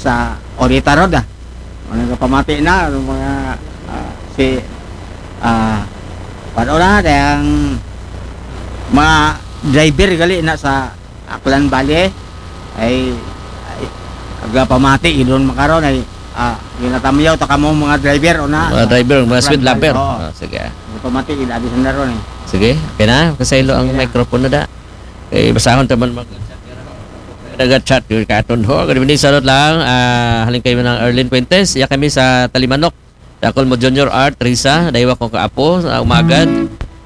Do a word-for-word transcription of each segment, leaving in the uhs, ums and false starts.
sa Orita Road, ah. Mga pamati na, mga, ah, si, ah, ano na, kayang mga driver gali na sa Aklan Valley, ay, ay, aga pamati, idon makaron, ay, ah, ginatamyaw ta kamo mga driver, o na, Mga sa driver, mga Aklan sweet Valley, lover. Oo. Ah, sige. Pamati, idadi sa naron, eh. Sige, okay na. Kasaylo ang Sige na. microphone na da. Eh, basahon ta man mag-, nag-chat yun katon ho. Good evening, salot lang. Ah, haling kayo ng Erlin Fuentes. Iya kami sa Talimanok. Dakol mo Junior Art, Risa, daywa ko kaapo, sa umagad.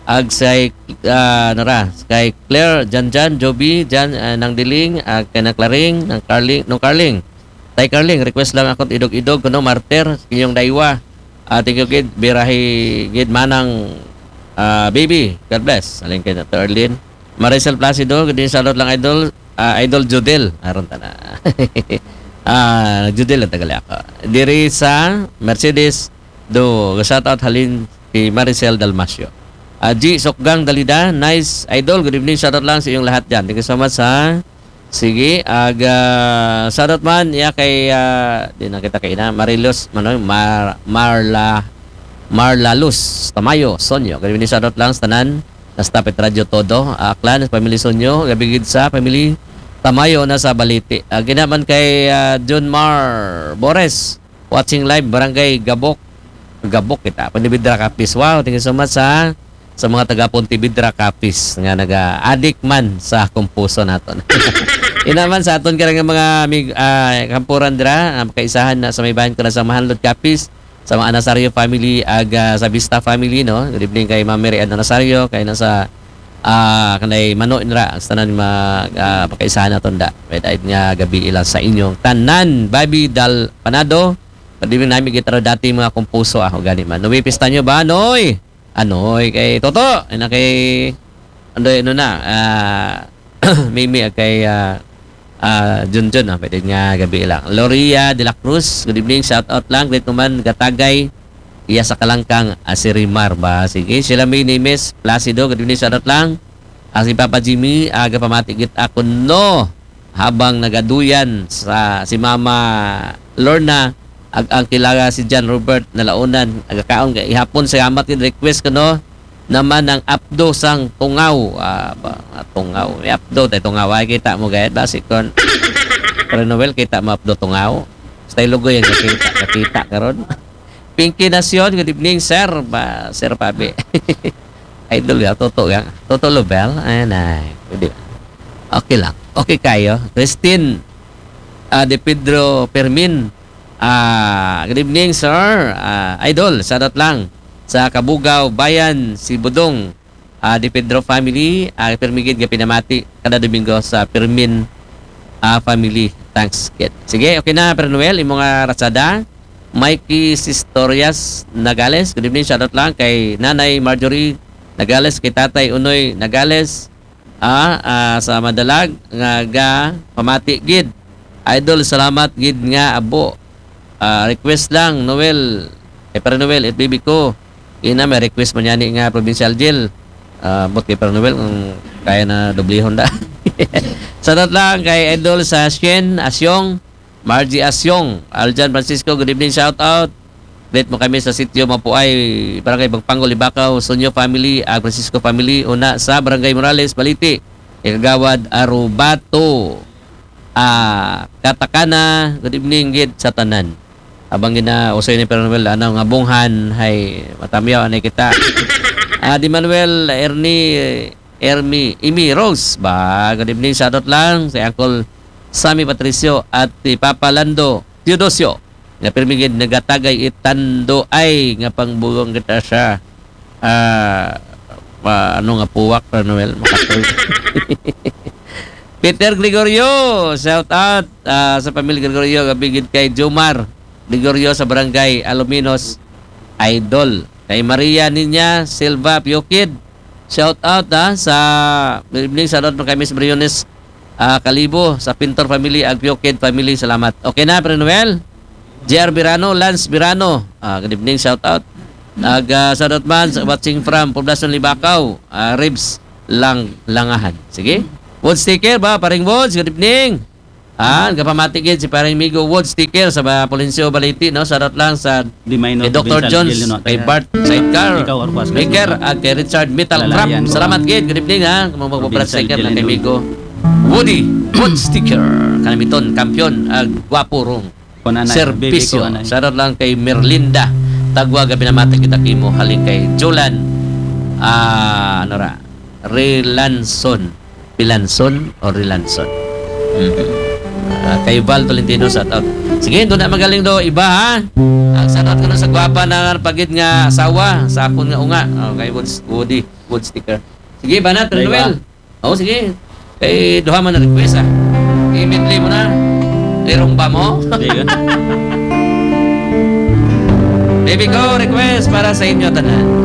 Ag say, ah, nara, kay Claire, Janjan, Joby, Jan, ah, Nang Diling, ag kay Nang Claring, Nang Carling, Nung Carling. Tay Carling, request lang ako, idog-idog, kuno, Martyr, inyong daywa. Ah, thank you, gid, birahi, gid, manang, ah, baby. God bless. Alin kay na to, Erlin. Maricel Placido, good evening, salot lang, idol. Ah, Idol Judel. Aron ta na. Ah, Judel ang tagali ako. Diri sa Mercedes, do, shout out halin si Maricel Dalmasio. Ah, G Sokgang Dalida, nice idol. Good evening, shout out lang sa iyong lahat dyan. Thank you so much, ha. Sige, aga, shout out man, iya kay, ah, di na kita kay ina, Marilos, manoy, Mar-, Marla, Marla Luz, Tamayo, Sonyo. Good evening, shout out lang sa tanan. Nastapit Radyo Todo, ah, Aklan, family Sonyo, gabigid sa family Tamayo na sa Baliti. Ah, ginaman kay, ah, John Mar Bores, watching live, Barangay Gabok. Gabok kita. Pontevedra Capiz. Wow, thank you so much, ha. Sa mga taga Pontevedra Capiz nga naga-adik man sa kumpuso naton. Inaman sa aton karang mga mig-, ah, kampuran dira, ah, kaisahan na sa may bayan ko na sa Mahanlod Capiz, sa mga Anasario family, ag, ah, sa Vista family, no? Good evening kay Ma'am Mary Ann Anasario, kay na sa, ah, kanay Mano Inra, sa tanan ma-, ah, pakaisahan naton da. May daig nga gabi ilang sa inyong tanan, Bobby Dal Panado. Pwede rin namin gitara dati mga kumpuso, ah, gani man. Noy, pista nyo ba, Noy? Anoy, kay Toto, ay na kay, ano, ano na, ah, Mimi, ag kay, ah, ah, Junjun, ah, pwede nga gabi lang. Loria de la Cruz, good evening, shout out lang, great naman, Gatagay, iya sa Kalangkang, ah, si Rimar ba? Sige, sila May Nimes, Placido, good evening, shout out lang. Ah, si Papa Jimmy, aga pamati gid ako, no. Habang nagaduyan sa si Mama Lorna, ag ang kilaga si John Robert Nalaunan, agakaon kay ihapon sa gamat gid request ko, no, naman ang apdo sang tungaw. Ah, ba, ah, tungaw. May apdo, tay tungaw. Ay, kita mo, gayad ba? Si Kon. Pero Noel, kita mo apdo tungaw. Style lugoy ang nakita, nakita karon. Pinky Nacion, good evening, sir. Ba, Sir Pabi. Idol ya, Toto ya. Toto Lobel. Ayan ay. Pwede ba? Okay lang. Okay kayo. Christine, ah, De Pedro Permin. Ah, good evening, sir. Ah, idol, shoutout lang sa Kabugaw, Bayan, si Budong. Ah, De Pedro family, ah, permigid nga pinamati kada Domingo sa Permin, ah, family. Thanks, kid. Sige, okay na, Pero Noel, imo nga ratsada. Mikey Sistorias Nagales, good evening, shoutout lang kay Nanay Marjorie Nagales, kay Tatay Unoy Nagales, ah, ah, sa Madalag, nga ga pamati gid. Idol, salamat gid nga abo. Ah, request lang, Noel, kay Pero Noel, F B B ko. Ina, may request man yani nga provincial jail. Ah, but kay Pero Noel, kung kaya na doblihon da. Shoutout lang kay Idol sa Shen Asyong, Margie Asyong, Aljan Francisco, good evening, shout out. Greet mo kami sa sitio Mapuay, Barangay Bagpango, Libakaw, Sonyo family, ag Francisco family, una sa Barangay Morales, Baliti, Ikagawad, Arubato. Ah, Katakana, good evening gid sa tanan. Abang gina usoy ni Pero Noel, ano nga bunghan, hay matamyaw anay kita. Ah, di Manuel, Ernie, Ermi, Imi Rose ba? Good evening, shoutout lang si Uncle Sammy Patricio at si Papa Lando Teodosio. Nga pirmi gid nagatagay itando ay nga pangbugong kita siya. Ah, pa, ano nga puwak, Pero Noel? Makatuloy. Peter Gregorio, shout out, ah, sa pamilya Gregorio, gabi gid kay Jomar Gregorio sa barangay Aluminos, idol. Kay Maria Niña Silva Piokid, shout out, ha, sa, good evening, shout out mo kay Miss Briones, ah, Kalibo, sa Pintor family, ag Piokid family, salamat. Okay na, Pero Noel? J R Birano, Lance Birano, ah, good evening, shout out. Ag, ah, shout out man sa watching from Poblacion Libakaw, ah, Ribs Lang Langahan. Sige. Wood sticker ba, Paring Woods? Good evening. Ah, gapamati gid si pareng Migo Wood Sticker sa ba Polencio Baliti, no? Shoutout lang sa Di may no, kay Doctor Vincent Jones, Gil, no? kay Bart Sidecar, Ikaw, Orpas, Maker, at kay Richard Metal Trap. Lalayan, no? Salamat gid. Good evening, ha. Kung mga Provincial Sticker lang kay Gil, Migo. Woody Wood Sticker. Kanamiton, kampiyon, agwapo rong Kunanay, serbisyo. baby ko, anay. Shoutout lang kay Merlinda Tagwa, gapamati kita kimo, halin kay Jolan, ah, ano ra, Relanson. Pilanson o Relanson? Mhm. Ah, kay Val Tolentino, shout out. Sige, doon na magaling do iba, ha. Ang shout out ko na sa gwapa na pagid nga asawa sa akon nga unga. Oh, kay Woods, Woody, Wood Sticker. Sige, Banat, May iba? Noel. Oh, sige. Kay duha man na request, ah. I-medley mo na. Irong ba mo? Di yun. Baby ko, request para sa inyo tanan.